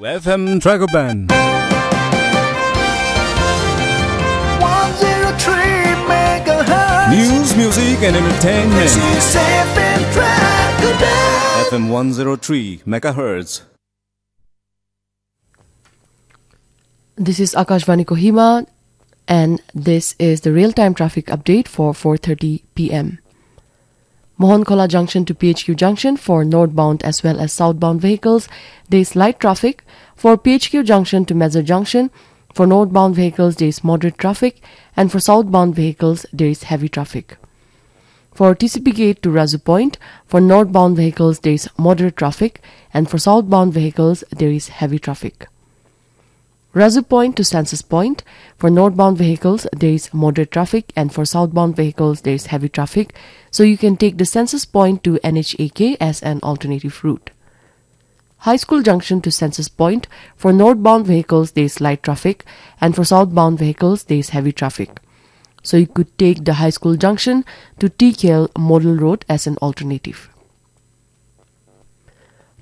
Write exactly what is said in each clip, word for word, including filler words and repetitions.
F M Dragoban. One zero three megahertz. News, music, and entertainment. This is F M Dragoban. F M one zero three megahertz. This is Akashvani Kohima, and this is the real-time traffic update for four thirty p m. Mohonkhola Junction to P H Q Junction for northbound as well as southbound vehicles, there is light traffic. For P H Q Junction to Mezar Junction, for northbound vehicles, there is moderate traffic, and for southbound vehicles, there is heavy traffic. For T C P Gate to Razu Point, for northbound vehicles, there is moderate traffic, and for southbound vehicles, there is heavy traffic. Razu Point to Census Point, for northbound vehicles, there is moderate traffic, and for southbound vehicles, there is heavy traffic. So you can take the Census Point to N H A K as an alternative route. High School Junction to Census Point, for northbound vehicles, there is light traffic, and for southbound vehicles, there is heavy traffic. So you could take the High School Junction to T K L Model Road as an alternative.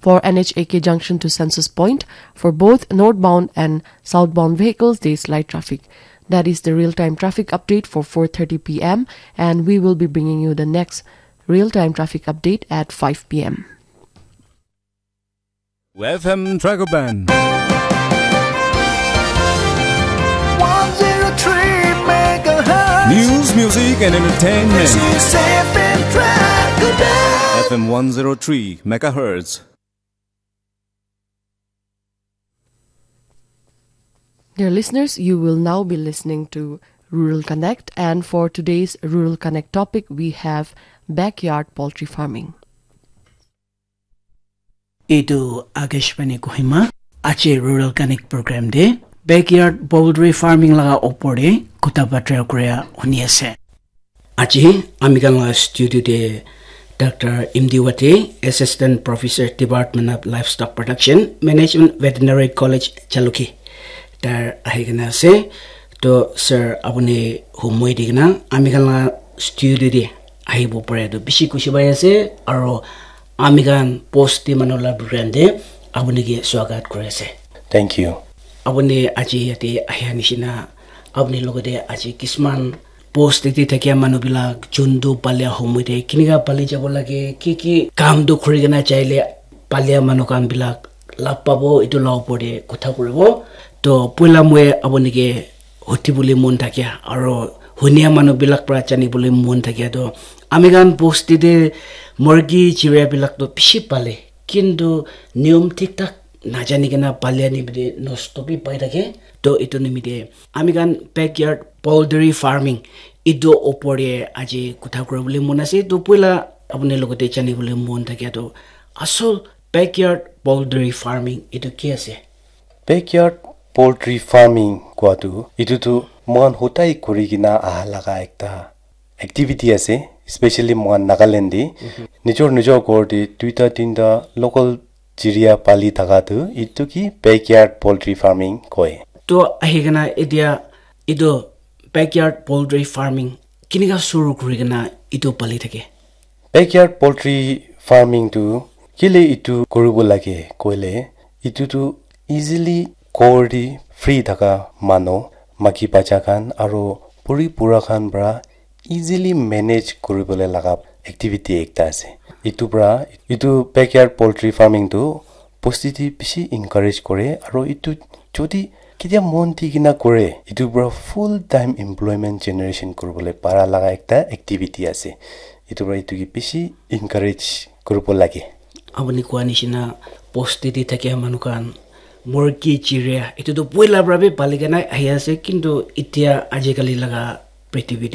For N H A K Junction to Census Point, for both northbound and southbound vehicles, there is light traffic. That is the real-time traffic update for four thirty p m, and we will be bringing you the next real-time traffic update at five p m. F M Dragoban. One zero three megahertz. News, music, and entertainment. This is F M Dragoban. F M one zero three megahertz. Dear listeners, you will now be listening to Rural Connect, and for today's Rural Connect topic, we have backyard poultry farming. Etu Akashvani Kohima, aji Rural Connect program de backyard poultry farming laga opor de kotha batra kuria huni ase. Aji ami khan la studio de Doctor Imdi Wate, Assistant Professor, Department of Livestock Production, Management, Veterinary College, Jalukie, tar ahi kena ase. To sir, apuni humoi di kena ami khan la studio de ahibo pare to bishi khushi pai ase, aro ami khan post te manu la program te apuni ke swagat kuri ase. Thank you. Apuni aji yate ahia nishina, apuni logote aji kisman post te thakia manu bilak juntu palia humoi te kinika pali jabo lage, ki ki kam tu khuri kena chaile palia manu khan bilak lab pabo, etu la opor te kotha kuribo. To poila moi apuni ke huti bole mon thakia aro hunia manu bilak pra jani bole mon thakia to ami khan bosti te murgi chiria bilak to bishi pale, kintu niyom thik thak najani kena palia ni bide nosto bi pai thake. To etu nimite ami khan backyard poultry farming etu opor te aji kotha kuri bole mon ase. To poila apuni logote jani bole mon thakia to asol backyard poultry farming etu ki ase? Backyard poultry farming kua tu etu tu moikhan hodai kuri kena aha laga ekta activity ase, especially moikhan Nagaland de. Mhm. Nijor nijor ghor de duita tinta local chiria pali thaka tu etu ki backyard poultry farming koi. To ahi kena etia etu backyard poultry farming kinika suru kuri kena etu pali thake? Backyard poultry farming tu kile etu kuribo lage koile, etu tu easily ghor de free thaka manu, maki bacha khan aro buri bura khan pra easily manage kuribole laga activity ekta ase. Etu pra, etu backyard poultry farming tu bosti te bishi encourage kore, aro etu jodi ketia mon di kena kore, etu pra full time employment generation kuribole para laga ekta activity ase. Etu pra etu ke bishi encourage kuribo lage. Apuni koa nishina bosti te thakia manu khan murgi chiria etu tu poila pra bi pali kena ahi ase, kintu etia ajikali laga prithibi te